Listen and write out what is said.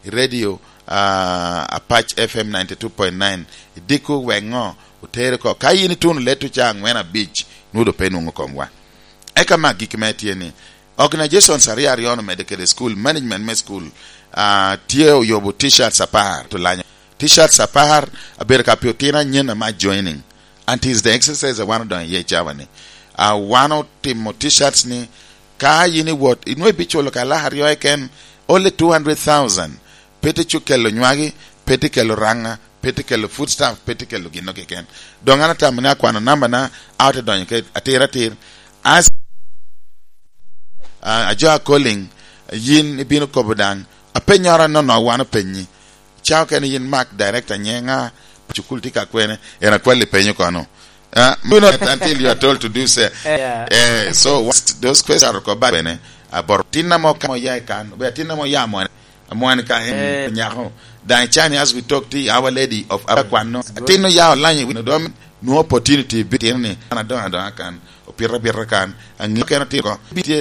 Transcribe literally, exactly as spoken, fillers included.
i radio, ah, Apac F M ninety-two point nine, idiko wek ŋo otere oko. Ka yin ituno leto ca angwen abic, nwodo pe nwoŋo komwa. Eka mak gik me tye ni, organizations aryo aryo omedde kede school, management me school, ah, tye oyubo t-shirts apar, to lanyo. T-shirts apar, abedo ka pi otino anyen ama joining. And it is the exercise a wan odonyo iye i cawa ni. Ah, wan otimo t-shirts ni, ka yin iwot, inwe ibiculo ka lak aryo eken, only two hundred thousand. Pe te cu kelo nywagi, pe te kelo raŋa, pe te kelo food stamp, pe te kelo ginno keken. Doŋ an atamo ni akwano namba na, a ote donyo ke atir atir. As, ah, ajo a calling, yin ibino kobo daŋ. Apenyoro nono wan openyi. Ca okene yin Mark, director, nye ŋa? Cukul tye ka kwene, en akwalli penyo kono. Ah, you know, until you are told to do so. Yeah. Eh, so, what those questions are about bene, abor. Tin amo ka mo ya i kan, be tin amo ya mo. Amwan ka en, eh, nyako. Daŋ icani, as we talk, ti Our Lady of Abakwano. Good. Tin oya olany i wino dom, no opportunity, bi tin ni, an adongo adonga kan, opito abita kan, angi keno tiko, bi tye,